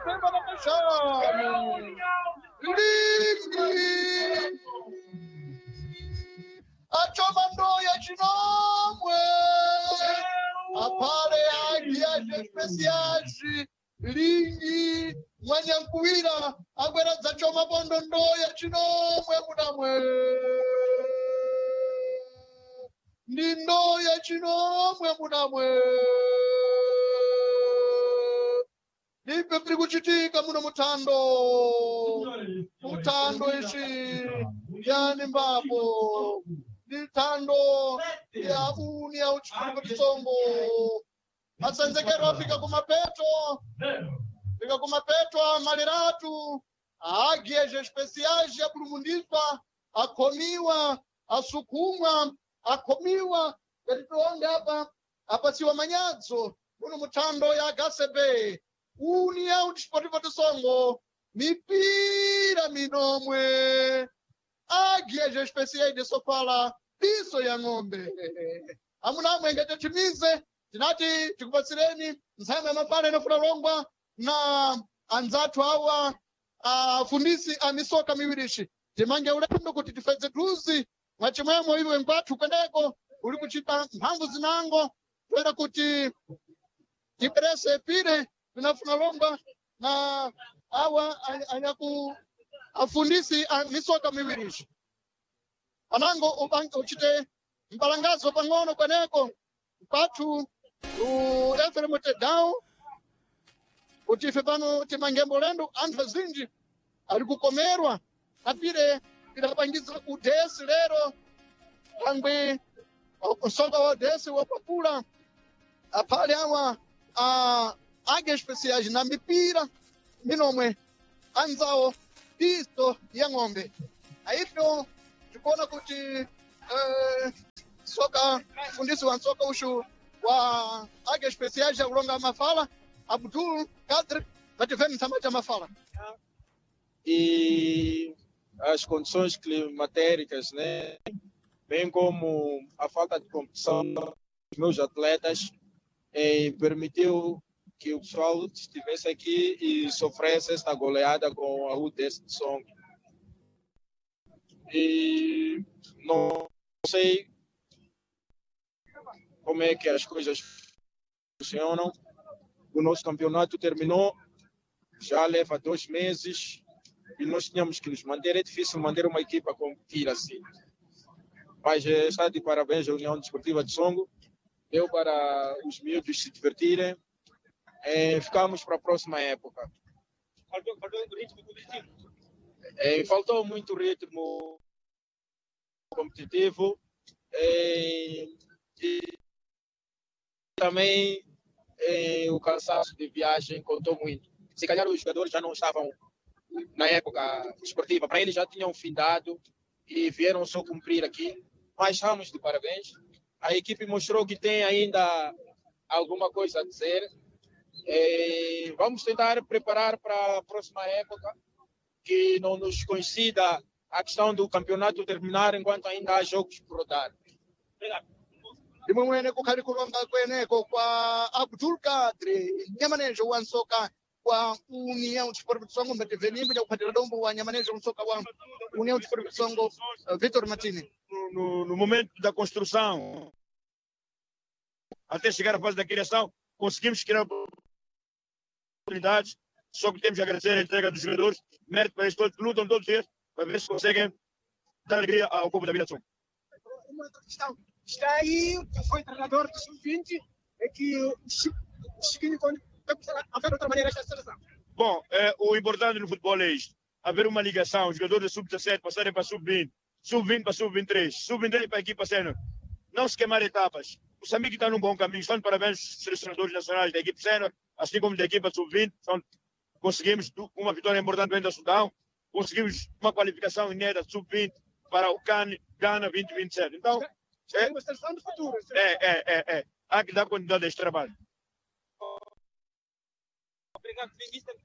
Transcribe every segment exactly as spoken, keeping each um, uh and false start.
pemba na mashanu lingi achoma ndoya chinomwe apale agiaje especiais lingi mwanyankuwira agwera dzachoma pondo ndoya chinomwe munamwe ndi ndoya chinomwe munamwe ndipe piri kuchitika muno mutando mutando ishi yani mbapo ndi thando ya uni ya uchikhuluko tsongo masenzekero afika kumapeto fika kumapeto amaliratu águias especiais yapulumundiswa akhomiwa asukumwa akhomiwa ngati tionge apa apasiwa manyadzo muno muthando ya gasebe União Desportiva do Songo mipira minomwe águias especiais de Sofala piso ya ng'ombe amuna amwe ngati chimize tinati tikupatsireni ntsama ya mapala inofuna longwa na anzathu awa afundisi a misoka miwirishi timange ulendo kuti tifedze thuzi mwachimwemwe iwe nkwathu kweneko uli kuchita mphamvu zinango toera kuti tiperese pire vinafuna longwa na awa anyaku afundisi a misoka miwirishi anango ubange uchite mbalangazo pang'ono kweneko kwathu Eferemu Tedao kuti ife pano timangembo lendo anthu azinji ali kukomerwa apire tidapangiza udesi lero thangwi msoka wa udesi wapapula aphale awa a águias especiais na mipira minomwe anzawo piso ya ng'ombe aifyo tikuona kuti eh, soka mfundisi wa nsoka ushu wa águias especiais akulonga mafala Abdul Kadri vativeni ntsama cha mafala E as condições climatéricas, né? Bem como a falta de competição dos meus atletas, eh, permitiu que o pessoal estivesse aqui e sofresse esta goleada com a U D S de Songo. E não sei como é que as coisas funcionam. O nosso campeonato terminou, já leva dois meses e nós tínhamos que nos manter. É difícil manter uma equipa competir assim. Mas está de parabéns à União Desportiva de Songo. Deu para os miúdos se divertirem. É, ficamos para a próxima época. Faltou, faltou ritmo competitivo. É, faltou muito ritmo competitivo. É, e também é, o cansaço de viagem contou muito. Se calhar os jogadores já não estavam na época esportiva, para eles já tinham findado e vieram só cumprir aqui. Mas estamos de parabéns. A equipe mostrou que tem ainda alguma coisa a dizer. É, vamos tentar preparar para a próxima época, que não nos coincida a questão do campeonato terminar enquanto ainda há jogos por rodar. Obrigado. Ndimwe kukhali kulonga kweneko kwa Abdul Kadri nyamanejo wa nsoka wa União Desportiva de Songo mbatevenimbo jakuphatira dombo wa nyamanejo nsoka wa União Desportiva de Songo uh, Vitor Martini. No, no, no momento da construção até chegar à fase da criação, conseguimos criar oportunidades, só que temos que agradecer a entrega dos jogadores, mérito para eles todos, que lutam todos os dias para ver se conseguem dar alegria ao povo da Vila de Songo. Uma outra questão. Está aí, foi treinador do sub vinte, é que o Chiquinho vai começar a ver de outra maneira esta seleção. Bom, é, o importante no futebol é isto, haver uma ligação, os jogadores da sub dezassete passarem para sub vinte, sub vinte para sub vinte e três, sub vinte e três para a equipa sénior. Não se queimar etapas. O Moçambique está num bom caminho. Estão de parabéns os selecionadores nacionais da equipe sénior, assim como da equipa sub vinte. Então, conseguimos uma vitória importante dentro da Sudão, conseguimos uma qualificação inédita sub vinte para o CAN Gana vinte e vinte e sete. Então, é uma seleção do futuro. É, é, é, é. Há que dar continuidade a este trabalho. Obrigado, ministro.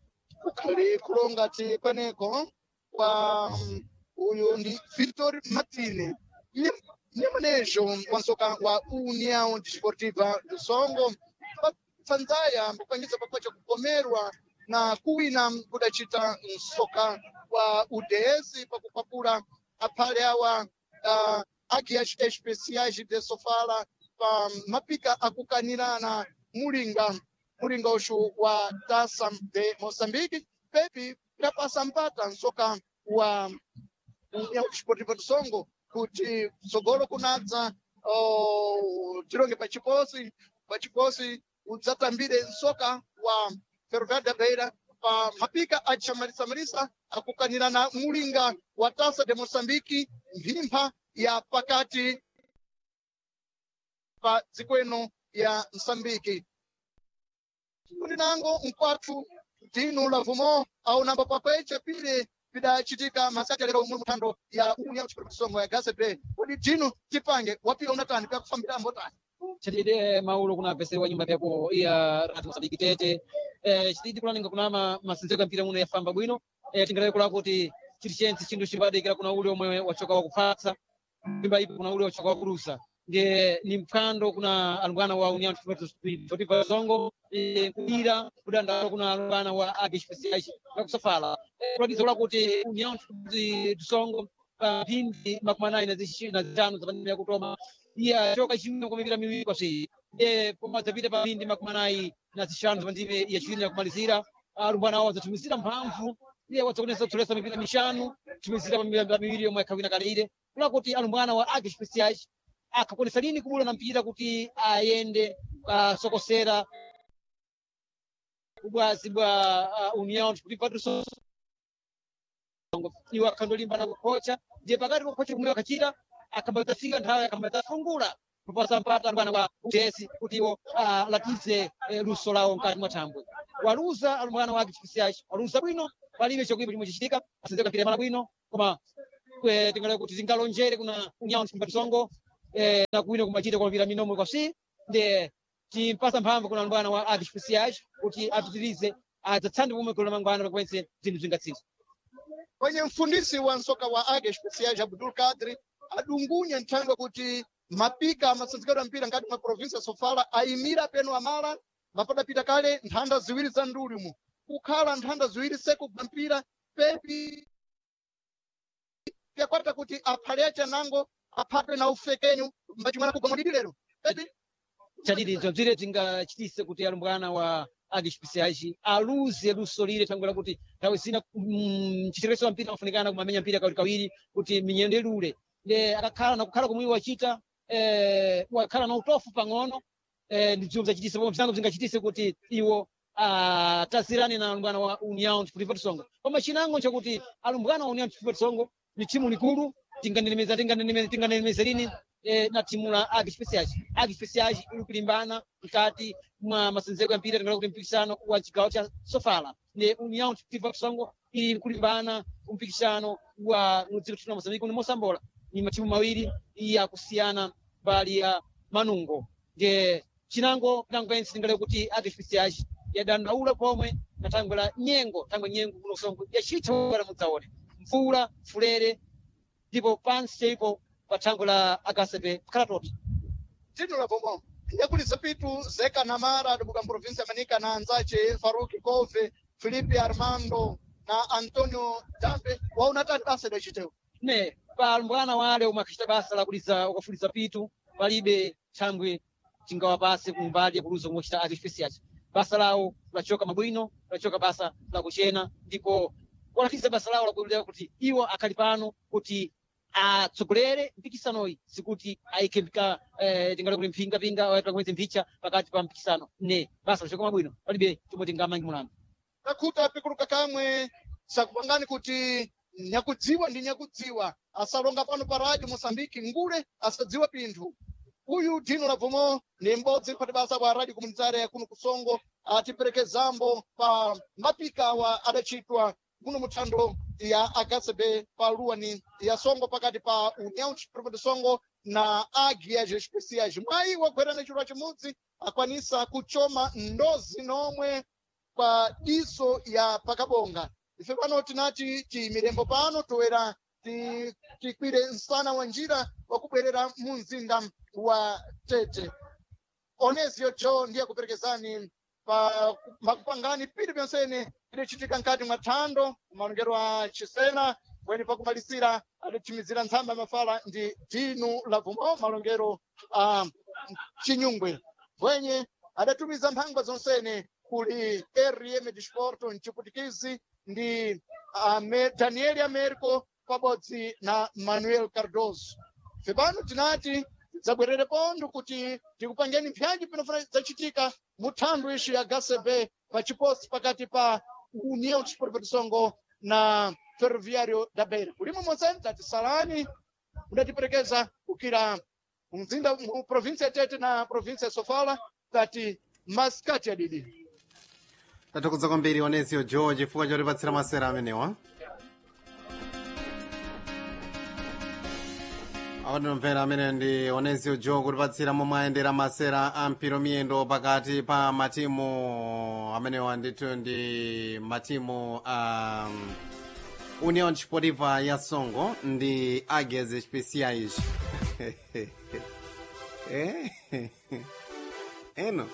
Kukhali kulonga ti kweneko kwa uyu ndi Vitor Martini nyamanejo wa nsoka wa União Desportiva do Songo patsanzaya kupangisa papacha kukomerwa Na kuwina kudachita msoka wa U D S pakukwapula aphale awa uh, Águias Especiais de Sofala pa mapika akukanirana mulinga mulinga uxu wa Taça de Moçambique. Pepi pidapasa mpata nsoka wa União Desportiva do Songo kuti tsogolo kunadza oh, tilonge pachiposi pachiposi udzatambire nsoka wa Ferroviário da Beira pa mapika achamarisa-marisa akukanirana mulinga wa Taça de Moçambique mphimpha ya pakati pa dziko ino ya Msambiki. Kuti nango mkwathu Dino Lavumo aunamba pakweche pile pidachitika masati lero mu muthando ya União Desportiva do Songo ya G C B. Kuti Dino tipange wapira unatani pyakufambira mbotani chitide maulo kuna apesere nyumba pyako iya Radio Mozambique tete eh chitidi kulaninga kuna ma masinzeko ya mpira muno yafamba bwino eh tingalaye kula kuti chiri chense chinthu chibadikira kuna ule omwe wachoka wakuphatsa nyumba ipo kuna ule wachoka wakulusa ndiye ni mphwando kuna alumbwana wa União Desportiva Songo eh, kulira kudandaula kuna alumbwana wa Águias Especiais yakusafala kulatiza kula kuti União Desportiva Songo pa mphindi makumi anayi na zixi- na zitanu zapandimira yakutoma iya choka chimwe kwa mipira miwiri kwasi e koma zapita pa mphindi makumi anayi na zixanu zapandime yachiwiri yakumalizira alumbwana awo adzatumizira mphamvu iye wadzakonesa kutsolesa mipira mixanu tumizira pa mipira miwiri yomwe akhawina kalire kula kuti alumbwana wa Águias Especiais akhakonesa lini kubula na mpira kuti ayende asokosera ubwazi bwa uh, União Desportiva do Songo iwo akhandolimbana kukhocha ndiye pakati kokhocha kumwe akhachita akhambadzafika nthawi akhambadzafungula kupasa mpata alumbwana wa U D S kuti iwo alatize eh, luso lawo mkati mwa thambwe. Waluza alumbwana wa Águias Especiais waluza bwino palibe chokuipa chomwe chichitika asenzeka mpira mala bwino koma eh, tingale kuti tingalonjere kuna União Desportiva do Songo eh, na kuwina kumachita kwa mpira minomwe kwasi ndiye timpasa mphamvu kuna alumbwana wa Águias Especiais kuti apitirize adzatsande pomwe golo lamangwana pakwense zinthu zingatsintha. Kwenye mfundisi wa nsoka wa Águias Especiais Abdul Kadri adungunya nthangwe kuti mapika amasanzikidwa mpira ngati mwa provinsi ya Sofala ayimira peno amala mapadapita kale nthanda ziwiri za ndulimu kukhala nthanda ziwiri sekugwa mpira pepi pyakwata kuti aphale achanango aphatwe na ufekenyu mbachimwana kugwa mulidi lero pepi chadidi bzire tingachitise kuti alumbwana wa Águias Especiais aluze luso lile thangwe lakuti nthawi zina mm, mchitereso wa mpira ufunikana kumamenya mpira kawirikawiri kuti minyendo ilule nde akakhala nakukhala komwe iwo achita eh, wakhala na utofu pang'ono eh, ndi bzomwe bzachitise pomwe bzinango bzingachitise kuti iwo atazirane na alumbwana wa União Desportiva do Songo. Koma chinango nchakuti alumbwana wa União Desportiva do Songo ni timu likulu tinganenemeza tinganenemeza tinganenemeza lini eh, na timu la Águias Especiais. Águias Especiais iri kulimbana mkati mwa masenzeko ya mpira tingala kuti mpikisano wa chigawo cha Sofala ne União Desportiva do Songo iri kulimbana mpikisano wa mudziko la Moçambique ni Moçambola ni matimu mawiri yakusiyana mbali ya manungo nde chinango pinango pensi tingale kuti Águias Especiais yadandaula pomwe na thangwe la nyengo thangwe nyengo kuno Songo yachitha bwana mudzaone mvula fulere ndipo pansi chaipo pa thangwe la akasepe kukhala toti Dino Lavumo yakulisa pitu Zeka Namara adibuka mprovinsi ya Manica na anzace Faruki Kove Felipe Armando na Antonio Dambe waunatani basa idachitewo ne palumbwana wale omwe akhacita basa lakuliza ukafuliza pitu palibe thangwe tingawapase kumbali yakuluza komwe achita Águias Especiais basa lawo lachoka mabwino lachoka basa lakuchena ndipo walatiza basa lawo lakulira kuti iwo akhali pano kuti atsogolere mpikisanoyi sikuti ayike mpika eh, tingale kuti mphingapinga kumwezi mphicha pakati pa mpikisano ne basa lachoka mabwino palibe chomwe tingamange mulandu takhuta pikuluka kamwe sakupangani kuti nyakudziwa ndi nyakudziwa asalonga pano pa radio Moçambique ngule asadziwa pinthu uyu Dino Lavumo ni m'bodzi mphati basa wa radio komunitária ya kuno kusongo atiperekezambo pa mapika wa adachitwa muno muthando ya H C B pa luwani ya Songo pakati pa União Desportiva de Songo na Águias Especiais. Mwayi wagwerana chilwa chimudzi akwanisa kuchoma ndozi nomwe kwa diso ya pakabonga. Ife pano tinati tiyimirembo pano toera ti- tikwire msana wa njira wakubwerera mu mzinda wa Tete. Onesio Joe ndiye akuperekezani pa makupangani pili pyonsene Idachitika nkati mwa thando kumalongero a Chisena, kweni pakumalisira adathimizira ntsamba ya mafala ndi Dinu Lavumo malongero a Chinyungwe. Bwenye adatumiza mphangwa zonsene kuli R M Disporto mchiputikizi ndi Ame, Daniel Americo pabodzi na Manuel Cardoso. Pano tinati tidzabwerere pontho kuti tikupangeni mpyanji pinofuna zachitika mu thando ixi ya H C B pa chiposi pakati pa União Desportiva de Songo na Ferroviário da Beira. Kulimo monsene tati salani mudatiperekeza kukira mzinda mu província ya Tete na província ya Sofala, tati masikati adidi. Tathokoza kwambiri Onesio George chifukwa chotipatsira masera amenewa. Awanomvera, amene ndi Onesio Joe kutipatsira momwe ayendera masera a mpira miyendo pakati pa matimu amenewa. Ndithu ndi matimu a um, União Desportiva ya Songo ndi Águias Especiais. Eh? Eno.